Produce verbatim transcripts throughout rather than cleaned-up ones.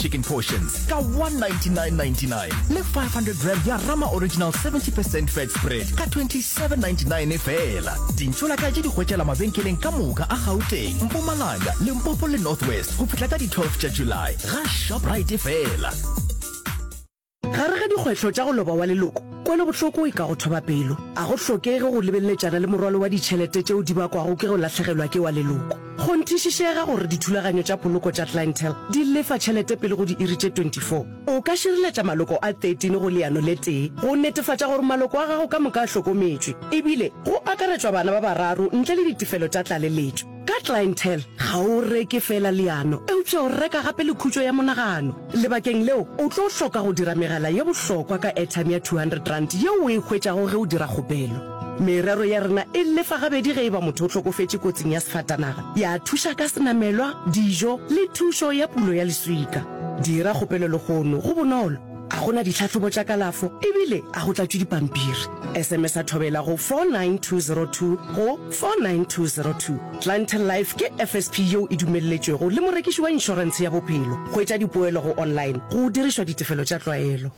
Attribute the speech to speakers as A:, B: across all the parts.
A: chicken portions ka one ninety-nine ninety-nine le five hundred gram ya Rama Original seventy percent fat spread ka twenty-seven ninety-nine feela. Dintšolaka tše di hwetšala mabenkeleng ka moka a Gauteng, Mpumalanga, Limpopo le North West go fihla ka di twelve tša July ga Shoprite feela.
B: Gare ga dikgwetlho tša go loba wa leloko, kwelobohloko e ka go thoba pelo. A go hlokege go lebeletšana le morwalo wa ditšhelete tšeo di bakwago ke go lahlegelwa ke wa leloko. Kgonthišišega gore dithulaganyo tša poloko tša Clientele di lefa tšhelete pele go diiri tše twenty-four. O ka šireletša maloko a thirteen go leano le tee go netefatša gore maloko a gago ka moka a hlokometšwe, ebile go akaretšwa bana ba bararo ntle le ditefelo tša tlaleletšo. Ka Clientele, ga o reke feela leano, eupša o reka gape le khutšo ya monagano. Lebakeng leo, o tlo hloka go dira megala ye bohlokwa ka airtime ya two hundred rand yeo o e hwetšago ge o dira kgopelo. Merero ya rena e lefa gabedi ge e ba motho o hlokofetše kotsing ya sefatanaga, ya thuša ka senamelwa, dijo le thušo ya pulo ya leswika. Dira kgopelo lehono, go bonolo, a go na ditlhahlobo tša kalafo ebile a go tlatšwe dipampiri. S M S a thobela go four nine two zero two go four nine two zero two. Clientele Life ke F S P yeo e dumelletšwego le morekiši wa inšorentshe ya bophelo. Hwetša dipoelo go online go dirišwa ditefelo tša tlwaelo.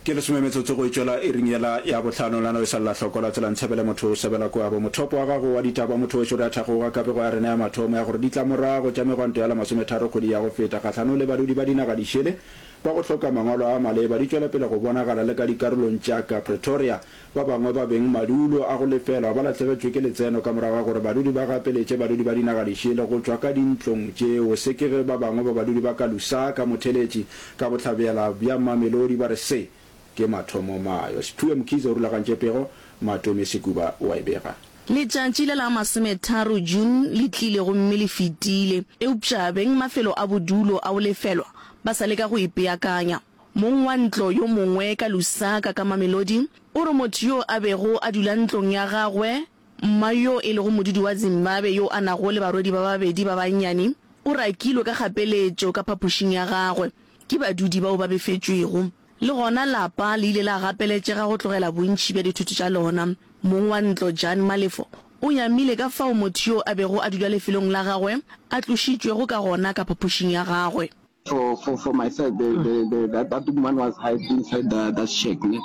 C: Ke lesome metsotso go e tšwela iring yela ya bohlano. Lano e sa lla hloko la tsela ntshebele motho o sebela kwabo. Mothopo wa gago wa ditaba motho wešo re a thakgoga ka pego ya rena ya mathomo ya gore ditlamorago tša megwanto ya la masometharo kgwedi ya go feta kgahlanong le badudi ba dinaga dišele ba go hloka mangwalo a maleba di tšwela pele go bonagala le ka dikarolong tša ka Pretoria. Ba bangwe ba beng madulo a go lefelwa ba lahlegetšwe ke letseno ka morago ga gore badudi ba gapeletše badudi ba dinaga dišele go tšwa ka dintlong tšeo. Se ke ge ba bangwe ba badudi ba ka Lusaka, Motheletši, ka bohlabela bja Mamelodi ba re se ke mathomomayo. Siphiwe Mkhize o rulagantše pego, Matome Sekuba o a e bega.
D: Letšatši le la masometharo June le tlile gomme le fetile, eupša beng mafelo a bodulo a go lefelwa ba sa leka go ipeakanya. Mong wa ntlo yo mongwe ka Lusaka ka Mamelodi o re motho yo a bego a dula ntlong ya gagwe, mma yo e lego modudi wa Zimbabwe yo a nago le barwedi ba babedi ba bannyane, o rakilwe ka kgapeletšo ka phapošing ya gagwe ke badudi bao ba befetšwego. Le gona lapa le ile la gapeletšega go tlogela bontši bja dithoto tša lona. Mong wa ntlo Jan Malefo o nyamile ka fao motho yo a bego a dula lefelong la gagwe a tlošitšwego ka gona ka phapošing ya gagwe.
E: For for for myself, the the the that, that woman was hide inside the that shack, ne?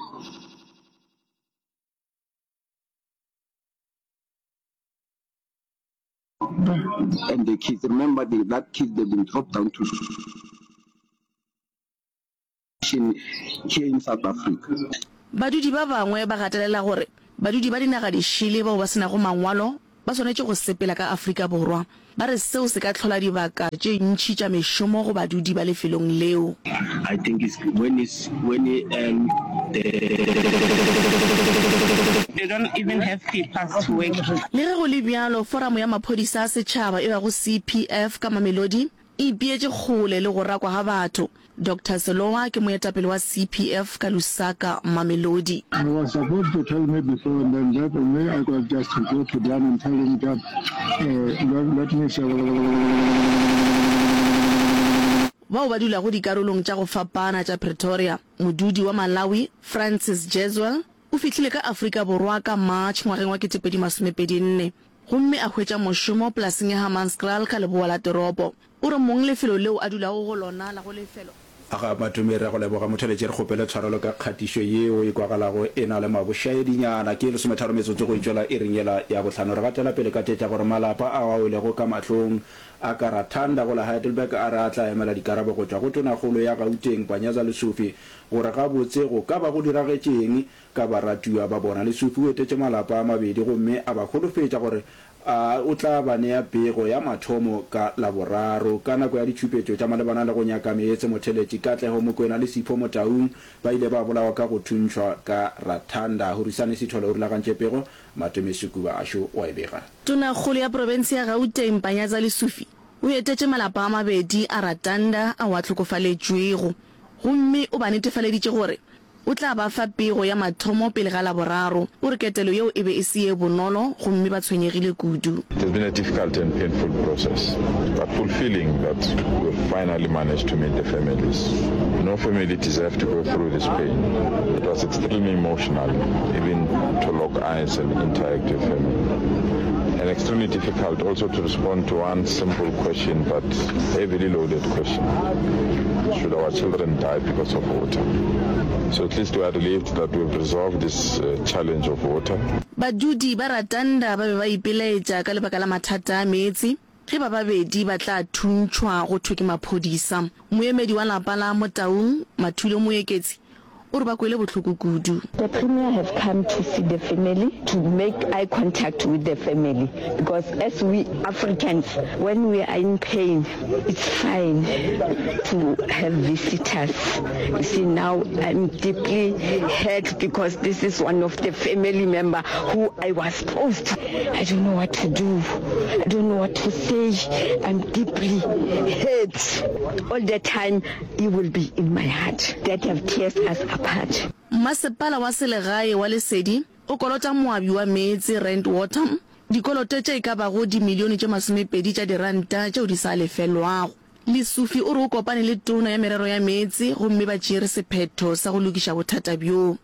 E: And the kids, remember the, that kids, they've been dropped down to here in South Africa.
D: Badudi ba bangwe ba gatelela gore badudi ba dinaga dišele bao ba se nago mangwalo ba swanetše go sepela ka Afrika Borwa. Ba re seo se ka hlola dibaka tše ntši tša mešomo go badudi ba lefelong leo.
E: I think it's when it's when um the.
F: They don't even have papers to work.
D: Le ge go le bjalo, Foramo ya Maphodisa a Setšhaba e bago C P F ka Mamelodi e ipeetše kgole le go rakwa ga batho. Doctor Selowa ke moetapele wa C P F ka Lusaka, Mamelodi.
G: He was supposed to tell me before and then that me I could just go to Dan and tell him that uh, let, let me say.
D: Bao ba dulago dikarolong tša go fapana tša Pretoria, modudi wa Malawi Francis Jeswell o fihlile ka Afrika Borwa ka March ngwageng wa ketepedi masomepedi nne gomme a hwetša mošomo polaseng ya Hammanskraal ka leboa la toropo. O re mong lefelo leo a dulago go lona la go lefelo
C: Aga Matome, re a go leboga motheletši, re kgopele tshwarelo ka kgatišo yeo e kwagalago e na le mabošaedinyana. Ke lesometharo metsotso go itšwela iring yela ya bohlano. Re gatela pele ka tše tša gore malapa ao a welego ka mahlong a ka Rathanda go la Heidelberg a re a tla emela dikarabo go tšwa go Tonakgolo ya Gauteng Panyaza Lesufi gore gabotse go ka ba go diragetše eng ka baratiwa ba bona. Lesufi o etetše malapa a mabedi gomme a ba holofetša gore a o tla ba nea pego ya mathomo ka Laboraro. Ka nako ya ditšhupetšo tša malebana le go nyaka meetse, motheletši Katlego Mokwena le Sipho Motaung ba ile ba bolawa ka go thuntšhwa ka Rathanda. Horisani Sithole o rulagantše pego, Matome Sekuba Ashu o a e bega.
D: Tonakgolo ya profense ya Gauteng Panyaza Lesufi o etetše malapa a mabedi a Ratanda ao a hlokofaletšwego gomme o ba netefaleditše gore o tla ba fa pego ya mathomo pele ga Laboraro. O re ketelo yeo e be e se ye bonolo gomme ba tshwenyegile kudu.
H: It has been a difficult and painful process, but fulfilling that we've finally managed to meet the families. No family deserves to go through this pain. It was extremely emotional, even to lock eyes and interact with family. And extremely difficult also to respond to one simple question, but heavily loaded question. Should our children die because of water? So at least we are relieved that we've resolved this uh, challenge of water.
D: Badudi ba Ratanda ba be ba ipelaetša ka lebaka la mathata a meetse ge ba babedi ba tla thuntšhwa go thwe ke maphodisa. Moemedi wa lapa la Motaung, Mathulo Moeketsi, o re ba kwele bohloko kudu.
I: The Premier have come to see the family, to make eye contact with the family because as we Africans when we are in pain it's fine to have visitors. You see now I'm deeply hurt because this is one of the family member who I was close to. I don't know what to do. I don't know what to say. I'm deeply hurt. All the time he will be in my heart that have tears us apart.
D: Mmasepala wa selegae wa Lesedi o kolota moabi wa meetse Rand Water dikoloto tše e ka bago dimilione tše masomepedi tša diranta tšeo di sa lefelwago. Lesufi o re o kopane le Tona ya Merero ya Meetse gomme ba tšeere sephetho sa go lokiša bothata bjo.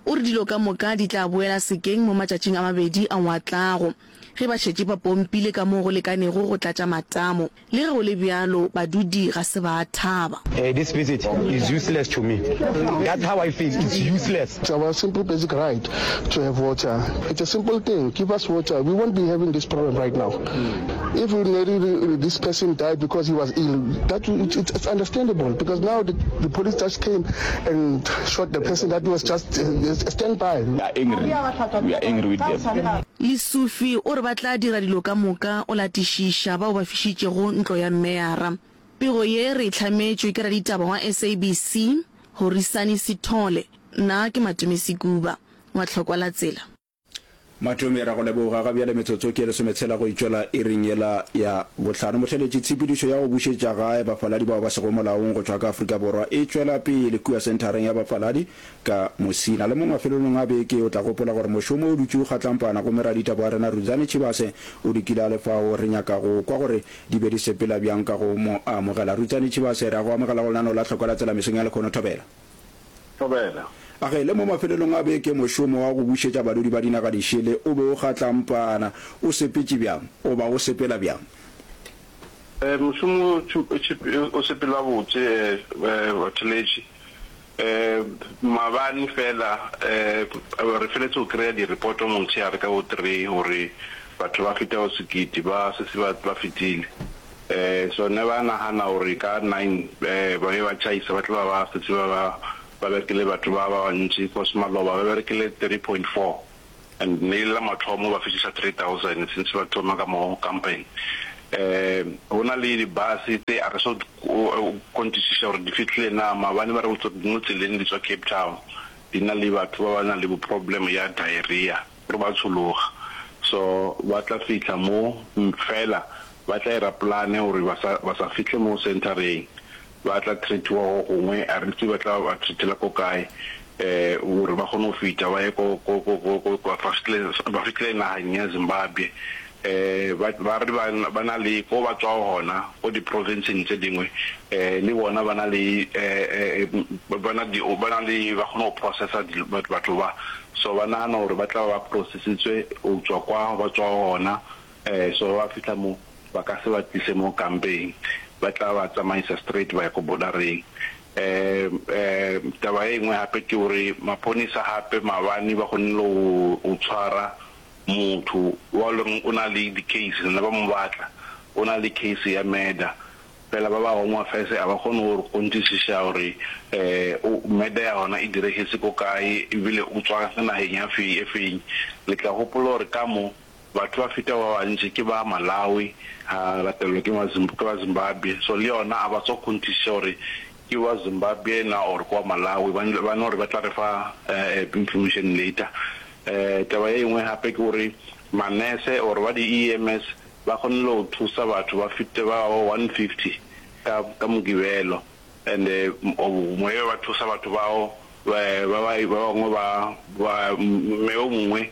D: O re dilo ka moka di tla boela sekeng mo matšatšing a mabedi ao a tlago, ge ba šetše ba pompile ka mo go lekanego go tlatša matamo. Le ge go le bjalo, badudi ga se ba thaba.
J: This visit is useless to me. That's how I feel, it's useless.
G: It's our simple basic right to have water. It's a simple thing, give us water, we won't be having this problem right now. If this person died because he was ill, that it's, it's understandable because now the, the police just came and shot the person that was just uh, stand by.
H: We are angry. We are angry with them.
D: Lesufi o re ba tla dira dilo ka moka o latišiša bao ba fišitšego ntlo ya meyara. Pego ye re e hlametšwe ke raditaba wa S A B C, Horisani Sithole. Nna ke Matome Sekuba wa Tlhokwa la Tsela.
C: Matome, ra go leboga. Ga bjale metsotso ke e lesometshela go itšwela iring yela ya bohlano. Motheeletši, tshepedišo ya go bušetša gae bafaladi bao ba sego molaong go tšwa ka Afrika Borwa e tšwela pele kua senthareng ya bafaladi ka Musina. Le mo mafelelong a beke o tla gopola gore mošomo o dutše o kgatlampana gomme raditaba wa rena Rudzani Tshivhase o dikile a le fao. Re nyaka go kwa gore di be di sepela bjang ka go mo amogela. Rudzani Tshivhase, re a go amogela go lenaneo la Hlokwa la Tsela mesong ya lekhono. Thobela.
K: Thobela.
C: A ge le mo mafelelong a beke mošomo wa go bušetša badudi ba dinaga dišele o be o kgatlampana, o sepetše bjang goba o sepela bjang?
K: Mošomo o sepela botse batheletši. Maabane fela re feletse go kry-a di-report motshehare ka bo three gore batho ba fetago sekete ba setse ba fetile. So ne ba nagana gore ka nine ba be ba tšhaisa ba tla ba ba setse ba ba ba berekile batho ba ba bantši cause maloba ba berekile three point four and ne e le la mathomo ba fetiša three thousand since ba thoma ka mo kampeng. Um go na le di-bus tse a re so kgonthišiša gore di fihlile na maabane ba re botsa di mo tseleng di tswa Cape Town di na le batho ba ba nang le bo problem ya diarrhea gore ba tshologa so ba tla fihla mo fela ba tla ira plan gore ba sa ba sa fihle mo centereng ba tla treatiwa go gongwe a re tsebe ba tla ba treatela ko kae um gore ba kgone go fihla ba ye ko ko ko ko ko ba fihle ba fihle nageng ya Zimbabwe um ba ba re ba ba na le ko ba tswago gona ko di-provinceng tse dingwe um le bona ba na le um ba na di ba na le ba kgone go processa batho ba so ba nagana gore ba tla ba processitswe go tswa kwa ba tswago gona um so ba fihla mo ba ka se ba tlise mo kampeng ba tla ba tsamaisa straight ba ya ko bordereng um um taba e nngwe gape ke gore maponisa gape maabane ba kgonne go tshwara motho wa leng o na le di-case ne ba mo batla o na le case ya murder fela ba ba Home Affairs a ba kgone go kgonthišiša gore um murder ya gona e diregetse ko kae ebile o tswa nageng ya fe e feng le tla gopola gore ka mo batho ba feta ba bantši ke ba Malawi ha latelwa ke ke ba Zimbabwe so le yona a ba tswa kgonthišiša gore ke wa Zimbabwe na or ke wa Malawi ba no re ba tla re fa information later um taba ye nngwe gape ke gore manese or ba di-E M S ba kgonne go thusa batho ba fete ba one fifty ka ka Mokibelo and moye ba thusa batho bao ba ba bangwe ba ba mme o mongwe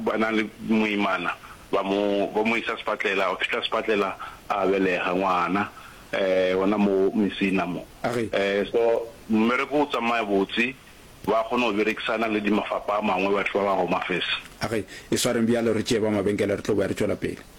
K: ba na le moimana ba mo ba mo isa sepatlela o fihla sepatlela a belega ngwana um gona mo Mesina mo um so mmereko o tsamaya botse. Ba kgona go berekisana le di mafapa a mangwe batho ba ba Home Affairs.
C: A ge, e swareng bjalo re tšee ba mabenkele re tlo boya re tšwela pele.